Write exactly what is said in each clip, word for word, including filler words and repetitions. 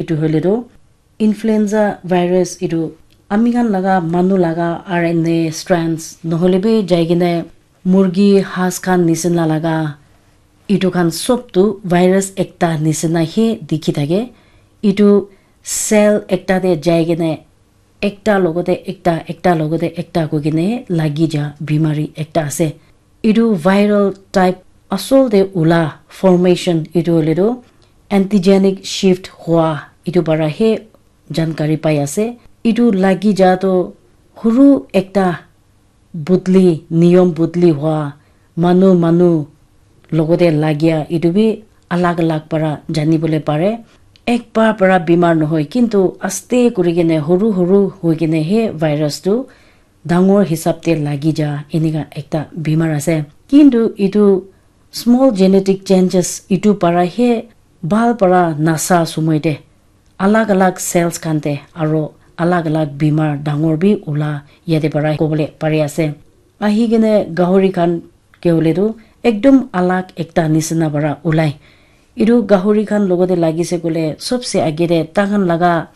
Etu hoile tu influenza virus, etu ami khan laga manu laga R N A strands nohole bi jai kene murgi, has khan nisina laga etu khan sob tu virus ekta nisina he dikhi thake. Etu cell ekta te jai kene ekta logote ekta, ekta logote ekta koi kene lagi ja bimari ekta ase. Etu viral type asol te ula formation etu hoile tu antigenic shift hua etu para he jankari pai ase. Etu lagi ja tu huru ekta budli, niyom budli hua, manu manu logote lagia etu bi alag alag para jani bole pare. Ekbar para bimar nohoi, kintu aste kuri kene huru huru hoi kene he virus tu dangor hisab te lagi ja enika ekta bimar ase. Kintu etu small genetic changes etu para he bhal para nasa sumoi te alag alag cells khan te aro alag alag bimar dangor bi ula yate para kobole pari ase. Ahi kene gahori khan ke hoile tu ekdom alag ekta nisina para ulai. Etu gahori khan logote lagise koile sobse age te takhan laga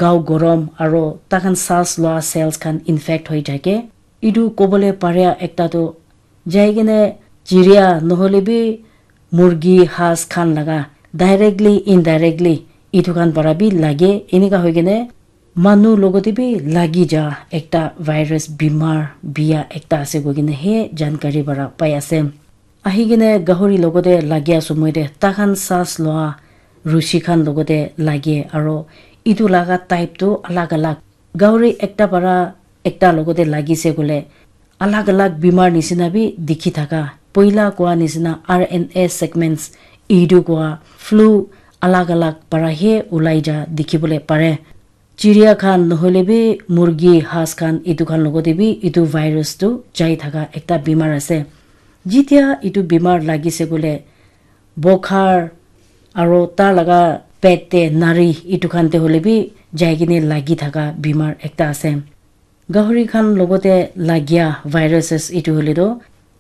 gao gorom aro takhan saas loa cells khan infect hoi thake. Etu kobole paria ekta tu jai kene chiria nohole bi murgi, has khan laga directly, indirectly etu khan para bi lage. Enika hoi kene manu logote bi lagi ja ekta virus bimar bia ekta ase koi kene he jankari para pai ase. Ahi kene gahori logote lagia sumoi te takhan saas loa rushi khan logote lage aro etu laga type tu alag alag. Gahori ekta para ekta logote lagise koile alag alag bimar nisina bi dikhi thaka. Poila koa nisina R N A segments etu koa flu alag alag para he ulai ja dikhi bole pare. Chiria khan nohole bi murgi, has khan etu khan logote bi etu virus tu jai thaka ekta bimar ase. Jitia etu bimar lagise koile bokhar aro tar laga pet te nari etu khan te hole bi jai kene lagi thaka bimar ekta ase. Gahori khan logote lagia viruses etu hole tu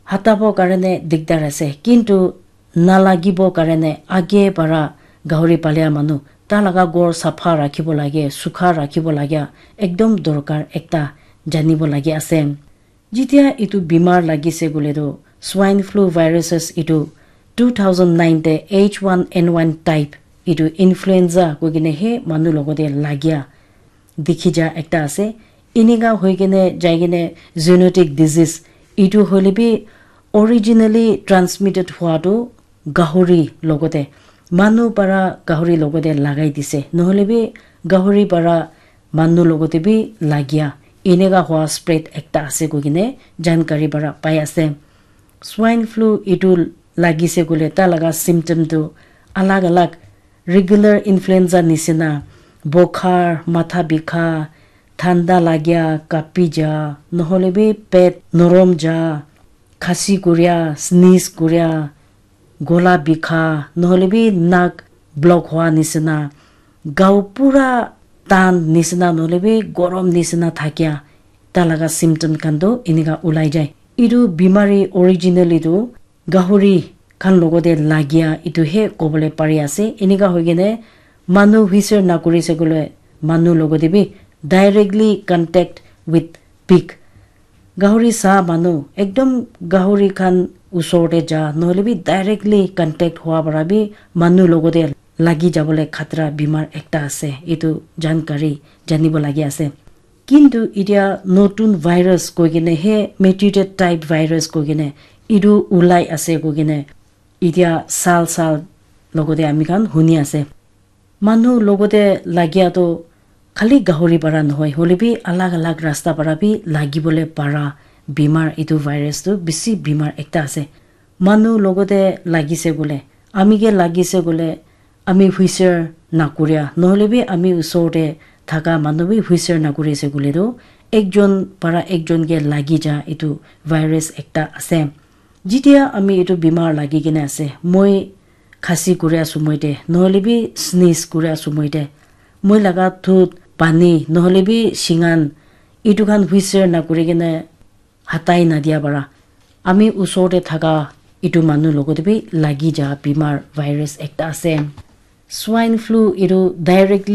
hatabo karone dikdar ase, kintu nalagibo karone age para gahori palia manu ta laga ghor sapha rakhibo lage, sukha rakhibo lage, ekdom dorkar ekta janibo lage ase. Jitia etu bimar lagise koile tu swine flu viruses etu two thousand nine te H one N one type etu influenza koi kene he manu logote lagia dikhi ja ekta ase. Enika hoi kene jai kene zoonotic disease etu hoile bi originally transmitted hua tu gahori logote, manu para gahori logote lagai dise, nohole bi gahori para manu logote bi lagia, enika hua spread ekta ase koi kene jankari para pai ase. Swine flu etu lagise koile ta laga symptom tu alag alag, regular influenza nisina, bokhar, matha bikha, thanda lagia, kapi ja, nohole bi pet norom ja, khasi kuria, sneeze kuria, gola bikha, nohole bi nak block hua nisina, gao pura tan nisina, nohole bi gorom nisina thakia, ta laga symptom khan tu enika ulai jai. Etu bimari originally tu gahori khan logote lagia etu he kobole pari ase. Enika hoi kene manu huisir nakuri se koile manu logote bi directly contact with pig. Gahori sa manu ekdom gahori khan usor te ja nohole bi directly contact hua para bi manu logote lagi jabole khatra bimar ekta ase. Etu jankari janibo lagi ase. Kintu etia notun virus koi kene he mutated type virus koi kene etu ulai ase koi kene etia sal sal logote ami khan huni ase. Manu logote lagia tu khali gahori para nohoi, hole bi alag alag rasta para bi lagibole para bimar, etu virus tu bisi bimar ekta ase. Manu logote lagise koile, ami ke lagise koile, ami huisir nakuria, nohole bi ami usor te thaka manu bi huisir nakuri ase koile tu ekjon para ekjon ke lagi ja etu virus ekta ase. Jitia ami etu bimar lagi kene ase, moi khasi kuria sumoi te, nohole bi sneeze kuria sumoi te, moi laga thut, pani, nohole bi shingan, etu khan huisir nakuri kene hatai nadia para ami usor te thaka etu manu logote bi lagi ja bimar virus ekta ase. Swine flu etu directly